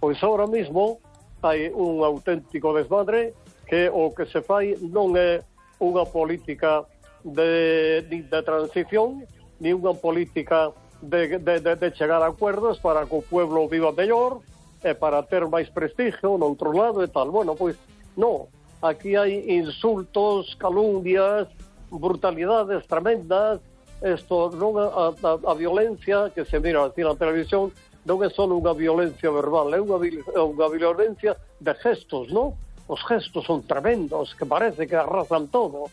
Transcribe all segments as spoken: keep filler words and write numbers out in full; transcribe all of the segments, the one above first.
Pois ahora mismo hai un auténtico desmadre que o que se fai non é unha política de, de transición, ni unha política de, de, de, de chegar a acuerdos para que o pueblo viva mellor, e para ter máis prestigio no outro lado e tal. Bueno, pois, non. Aquí hai insultos, calumnias, brutalidades tremendas. Isto non a, a, a violencia que se mira así na televisión non é só unha violencia verbal, é unha, unha violencia de gestos, non? Os gestos son tremendos, que parece que arrasan todo.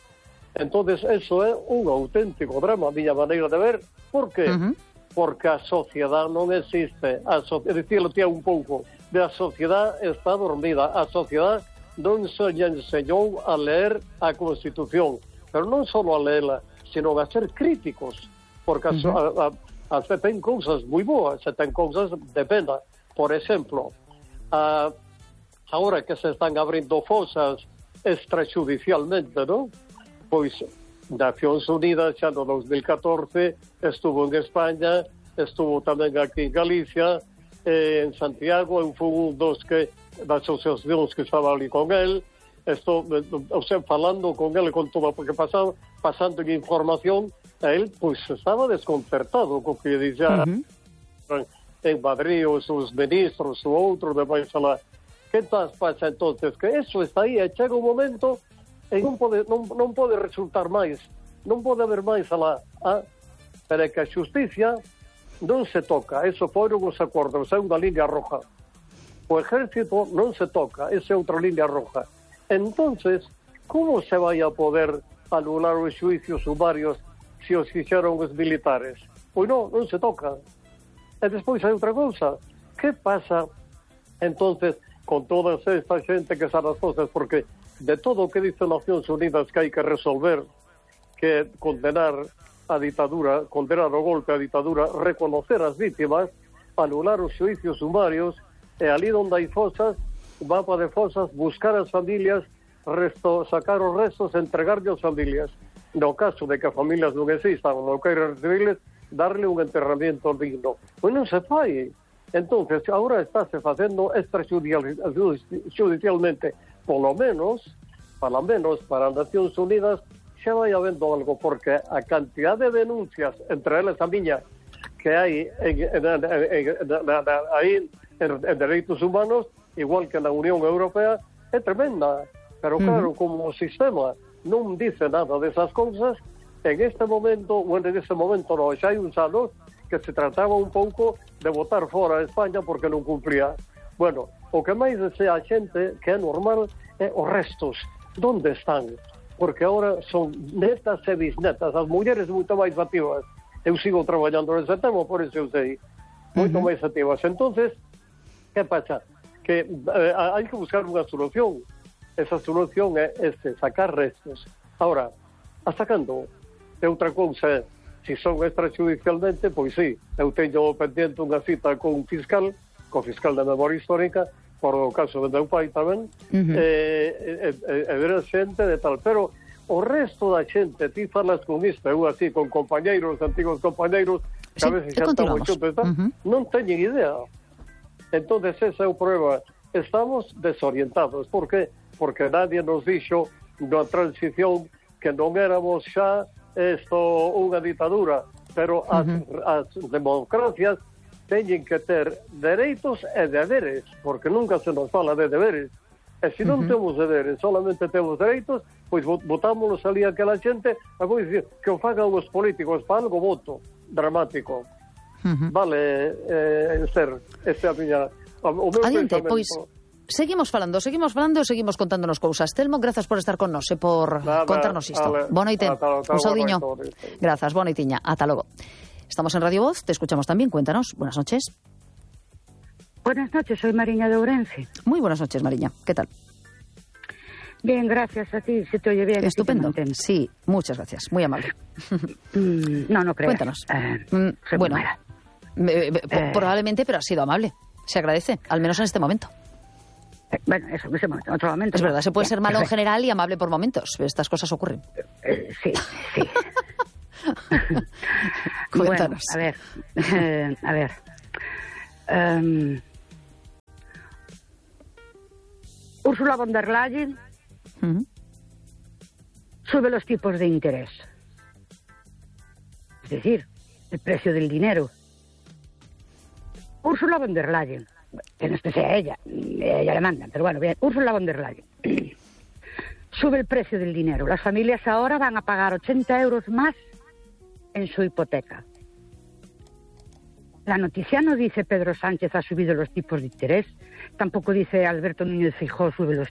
Entonces, eso é un auténtico drama, a miña maneira de ver. Por qué? Uh-huh. Porque a sociedade non existe. A so... Dicirlo tía un pouco. A sociedade está dormida. A sociedade non se enseñou a ler a Constitución. Pero non só a leela, sino a ser críticos. Porque uh-huh. a, a, a, se ten cousas moi boas, se ten cousas de pena. Por exemplo, a, agora que se están abrindo fosas extrajudicialmente, non? Pois Nacións Unidas xa no dos mil catorce estuvo en España, estuvo tamén aquí en Galicia, eh, en Santiago, eu fui un dos que das asociacións que estaba ali con el, estou, o sea, falando con el con todo, porque pasando, pasando en información, a él pois estaba desconcertado co que dixera uh-huh. en Madrid os, os ministros, o outro de vai falar. Que tal pasa entonces? Que eso está aí, e chega un momento e non pode, non, non pode resultar máis, non pode haber máis alá, ah? Pero é que a xusticia non se toca, eso foron os acordos, é unha línea roja. O ejército non se toca, esa é outra línea roja. Entonces, como se vai a poder anular os xuicios sumarios se os fixeron os militares? Pois non, non se toca. E despois hai outra cousa, que pasa entonces con toda esta xente que sabe as cosas? Porque de todo o que dice Nacións Unidas que hai que resolver, que condenar a ditadura, condenar o golpe a ditadura, reconocer as vítimas, anular os xuicios sumarios, e ali onde hai fosas, o mapa de fosas, buscar as familias, resto, sacar os restos, entregarlle as familias. No caso de que as familias non existan, non queiran recibirles, darle un enterramiento digno. Pois non se fai. Entonces, agora estáse facendo extrajudicialmente, polo menos, polo menos para as Nacións Unidas, xa vai habendo algo, porque a cantidad de denuncias, entre elas a miña, que hai en, en, en, en, en, aí en, en dereitos humanos, igual que na Unión Europea, é tremenda. Pero claro, uh-huh. como o sistema non dice nada desas cousas, en este momento, bueno, en este momento non, xa hai uns anos que se trataba un pouco de botar fora a España porque non cumplía. Bueno, o que máis desea a xente, que é normal, é os restos. Donde están? Porque agora son netas e bisnetas, as mulleres moito máis activas. Eu sigo traballando nese tema, por isso eu sei. Moito uh-huh. máis activas. Entonces, que pasa? Que eh, hai que buscar unha solución. Esa solución é este, sacar restos. Ahora, a sacando, é outra cousa, se son extrajudicialmente, pois sí, eu teño pendiente unha cita con un fiscal, con fiscal de memoria histórica, por o caso de meu pai tamén, uh-huh. e, e, e, e ver a xente de tal. Pero o resto da xente, ti falas con isto, eu así, con compañeiros, antigos compañeiros, que sí, a veces xa estamos xuntos, uh-huh. non teñen idea. Entonces esa é o problema. Estamos desorientados. Por que? Porque nadie nos dixo na transición que non éramos xa esto unha ditadura, pero as, uh-huh. as democracias teñen que ter dereitos e deberes, porque nunca se nos fala de deberes. E se non uh-huh. temos deberes, solamente temos dereitos, pois votámonos ali aquela xente, e vou dicir que o fagan os políticos para algo voto dramático. Uh-huh. Vale, eh, Esther, esta é a miña... O meu Adiante, pois, seguimos falando, seguimos falando e seguimos contándonos cousas. Telmo, grazas por estar con nos e por Nada, contarnos isto. Boa noite, un saudiño. Grazas, boa noitiña, ata logo. Estamos en Radio Voz, te escuchamos también, cuéntanos. Buenas noches. Buenas noches, soy Mariña de Ourense. Muy buenas noches, Mariña, ¿qué tal? Bien, gracias a ti, se te oye bien. Estupendo, sí, muchas gracias, muy amable. Mm, no, no creas. Cuéntanos. Eh, mm, bueno, eh, eh, probablemente, pero ha sido amable. Se agradece, al menos en este momento. Eh, bueno, eso, en ese momento, en otro momento. Es verdad, se puede ya, ser malo perfecto. en general y amable por momentos. Estas cosas ocurren. Eh, sí, sí. Cuéntanos. Bueno, a ver, eh, a ver. Um, Ursula von der Leyen Uh-huh. sube los tipos de interés. Es decir, el precio del dinero. Ursula von der Leyen, que no es que sea ella, ella le mandan, pero bueno, bien, Ursula von der Leyen sube el precio del dinero. Las familias ahora van a pagar ochenta euros más en su hipoteca. La noticia no dice Pedro Sánchez ha subido los tipos de interés, tampoco dice Alberto Núñez Feijóo sube los